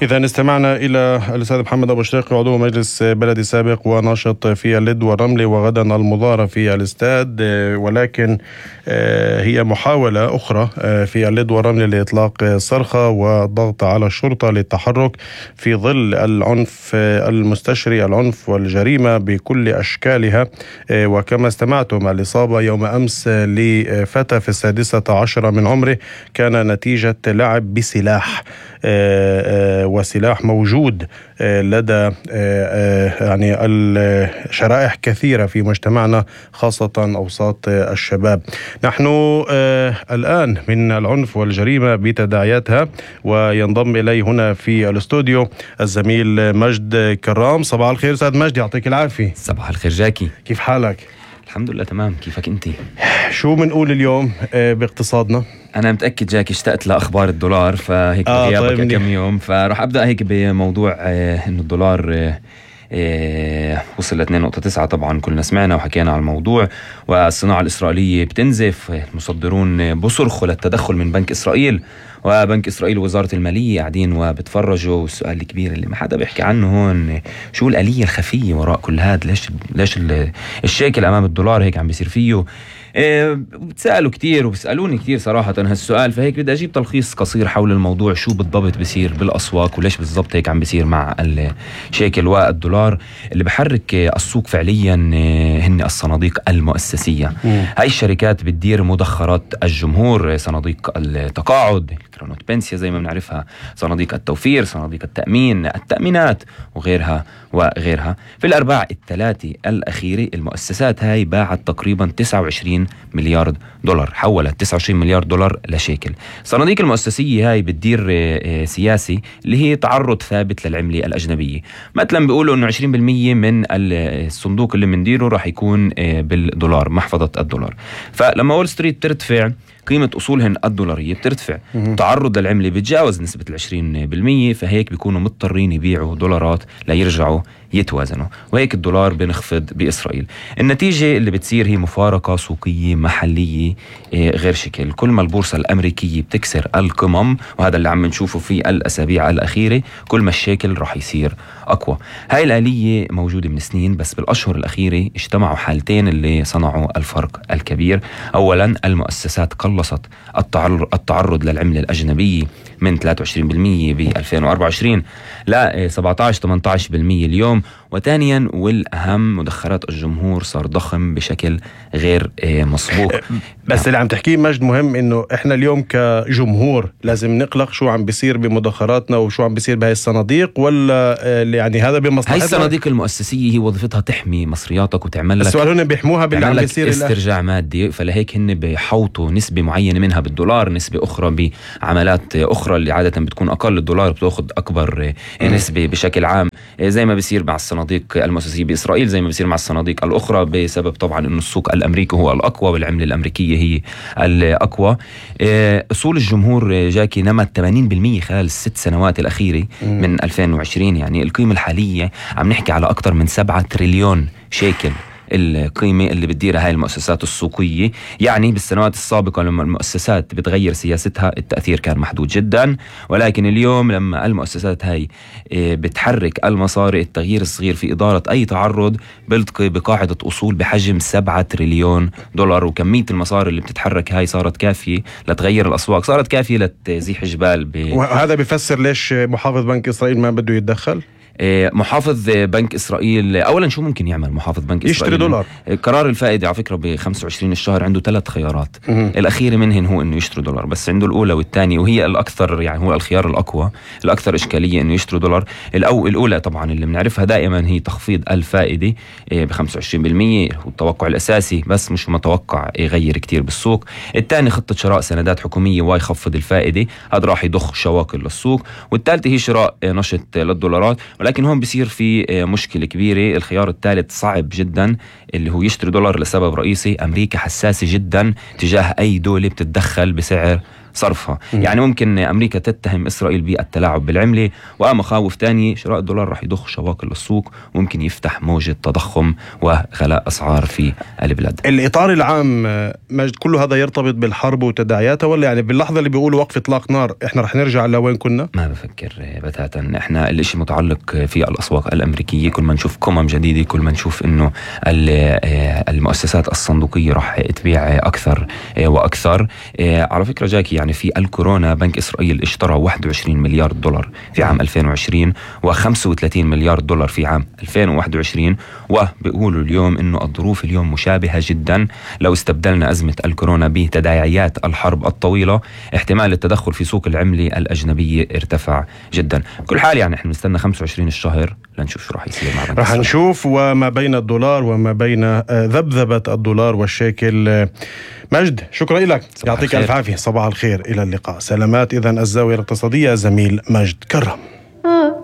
إذا استمعنا إلى الأستاذ محمد أبو شريق عضو مجلس بلدي سابق وناشط في اللد والرمل، وغدا المظاهرة في الاستاد، ولكن هي محاولة أخرى في اللد والرمل لإطلاق صرخة والضغط على الشرطة للتحرك في ظل العنف المستشري، العنف والجريمة بكل أشكالها. وكما استمعتم الإصابة يوم أمس لفتى في 16 من عمره كان نتيجة لعب بسلاح، وسلاح موجود لدى يعني الشرائح كثيرة في مجتمعنا، خاصة أوساط الشباب. نحن الآن من العنف والجريمة بتداعياتها، وينضم إلي هنا في الاستوديو الزميل مجد كرام. صباح الخير أستاذ مجد، يعطيك العافية. صباح الخير جاكي، كيف حالك؟ الحمد لله تمام، كيفك انت؟ شو منقول اليوم باقتصادنا؟ أنا متأكد جاكي اشتقت لأخبار الدولار، فهيك غيابك طيب كم يوم، فراح أبدأ هيك بموضوع إنه الدولار وصل ل 2.9. طبعا كلنا سمعنا وحكينا على الموضوع، والصناعة الإسرائيلية بتنزف، المصدرون بصرخوا للتدخل من بنك إسرائيل، وبنك إسرائيل ووزارة المالية قاعدين وبتفرجوا. والسؤال الكبير اللي ما حدا بيحكي عنه هون، شو الآلية الخفية وراء كل هذا؟ ليش الشيكل أمام الدولار هيك عم بيصير فيه؟ بتسألوا كتير وبسألوني كتير صراحة هالسؤال، فهيك بدي أجيب تلخيص قصير حول الموضوع، شو بالضبط بسير بالأسواق وليش بالضبط هيك عم بيصير مع الشيكل والدولار. اللي بحرك السوق فعليا هن الصناديق المؤسسية. هاي الشركات بتدير مدخرات الجمهور، صناديق التقاعد، كرونوت بنسيا زي ما بنعرفها، صناديق التوفير، صناديق التأمين، التأمينات وغيرها وغيرها. في الأرباع الثلاثة الأخيرة المؤسسات هاي باعت تقريبا 29 مليار دولار، حولت 29 مليار دولار لشيكل. الصناديق المؤسسية هاي بتدير سياسي اللي هي تعرض ثابت للعملة الأجنبية. مثلا بيقولوا إنه 20% من الصندوق اللي منديره راح يكون بالدولار، محفظة الدولار. فلما وول ستريت ترتفع قيمة أصولهن الدولارية بترتفع، تعرض للعملة بتجاوز نسبة 20%، فهيك بيكونوا مضطرين يبيعوا دولارات ليرجعوا يتوازنوا، وهيك الدولار بنخفض بإسرائيل. النتيجة اللي بتصير هي مفارقة سوقية محلية غير شكل. كل ما البورصة الأمريكية بتكسر القمم، وهذا اللي عم نشوفه في الأسابيع الأخيرة، كل ما الشيكل راح يصير أقوى. هاي الآلية موجودة من سنين، بس بالأشهر الأخيرة اجتمعوا حالتين اللي صنعوا الفرق الكبير. أولا المؤسسات قلصت التعرض للعملة الأجنبية من 23% ب 2024 ل 17-18% اليوم. وثانيا والأهم، مدخرات الجمهور صار ضخم بشكل غير مسبوق. بس اللي عم تحكيه مجد مهم، إنه إحنا اليوم كجمهور لازم نقلق شو عم بيصير بمدخراتنا وشو عم بيصير بهاي الصناديق، ولا يعني هذا بمصلحتنا؟ هاي الصناديق المؤسسية هي وظيفتها تحمي مصرياتك وتعمل لك، السؤال هنا بيحموها باللي عم بيصير استرجاع مادي، فلهيك هن بيحوطوا نسبة معينة منها بالدولار، نسبة أخرى بعملات أخرى اللي عادة بتكون أقل. الدولار بتأخذ أكبر نسبة بشكل عام، زي ما بيصير مع الصناديق المؤسسية بإسرائيل، زي ما بيصير مع الصناديق الأخرى، بسبب طبعا إنه السوق الأمريكي هو الأقوى والعملة الأمريكية هي الأقوى. أصول الجمهور جاكي نمت 80% خلال الست سنوات الأخيرة من 2020. يعني القيمة الحالية عم نحكي على أكثر من 7 تريليون شيكل القيمة اللي بتديرها هاي المؤسسات السوقية. يعني بالسنوات السابقة لما المؤسسات بتغير سياستها التأثير كان محدود جدا، ولكن اليوم لما المؤسسات هاي بتحرك المصاري، التغيير الصغير في إدارة أي تعرض بيلتقي بقاعدة أصول بحجم 7 تريليون دولار. وكمية المصاري اللي بتتحرك هاي صارت كافية لتغير الأسواق، صارت كافية لتزيح جبال وهذا بيفسر ليش محافظ بنك إسرائيل ما بده يتدخل. محافظ بنك إسرائيل أولا شو ممكن يعمل محافظ بنك إسرائيل؟ يشتري دولار. قرار الفائدة على فكرة ب25 الشهر عنده 3 خيارات. الأخير منهن هو إنه يشتري دولار، بس عنده الأولى والثانية، وهي الأكثر يعني هو الخيار الأقوى الأكثر إشكالية إنه يشتري دولار. الأولى طبعا اللي بنعرفها دائما هي تخفيض الفائدة ب25%، هو التوقع الأساسي بس مش متوقع يغير كتير بالسوق. الثاني خطة شراء سندات حكومية ويخفض الفائدة، هذا راح يضخ شواكل للسوق. والثالثة هي شراء نشط للدولارات، ولكن هون بصير في مشكلة كبيرة. الخيار الثالث صعب جدا اللي هو يشتري دولار، لسبب رئيسي: أمريكا حساسة جدا تجاه أي دولة بتتدخل بسعر صرفها. يعني ممكن أمريكا تتهم إسرائيل بالتلاعب بالعملة، ومخاوف تانية شراء الدولار رح يضخ شواكل للسوق، وممكن يفتح موجة تضخم وغلاء أسعار في البلاد. الإطار العام مجد كل هذا يرتبط بالحرب وتداعياتها، ولا يعني باللحظة اللي بيقولوا وقف إطلاق نار إحنا رح نرجع لوين كنا؟ ما بفكر بتاتا. إحنا الاشي متعلق في الأسواق الأمريكية، كل ما نشوف قمم جديدة، كل ما نشوف إنه المؤسسات الصندوقية رح تبيع أكثر وأكثر. على فكرة جاكي، يعني في الكورونا بنك إسرائيل اشترى 21 مليار دولار في عام 2020 و35 مليار دولار في عام 2021، وبيقولوا اليوم إنه الظروف اليوم مشابهة جدا. لو استبدلنا أزمة الكورونا بتداعيات الحرب الطويلة، احتمال التدخل في سوق العملة الأجنبية ارتفع جدا. بكل حال يعني احنا نستنى 25 الشهر لنشوف شو راح يصير مع بنك راح نشوف. وما بين الدولار وما بين ذبذبة الدولار والشيكل. مجد، شكرا لك، يعطيك ألف عافية، صباح الخير، إلى اللقاء، سلامات. إذن الزاوية الاقتصادية زميل مجد كرم.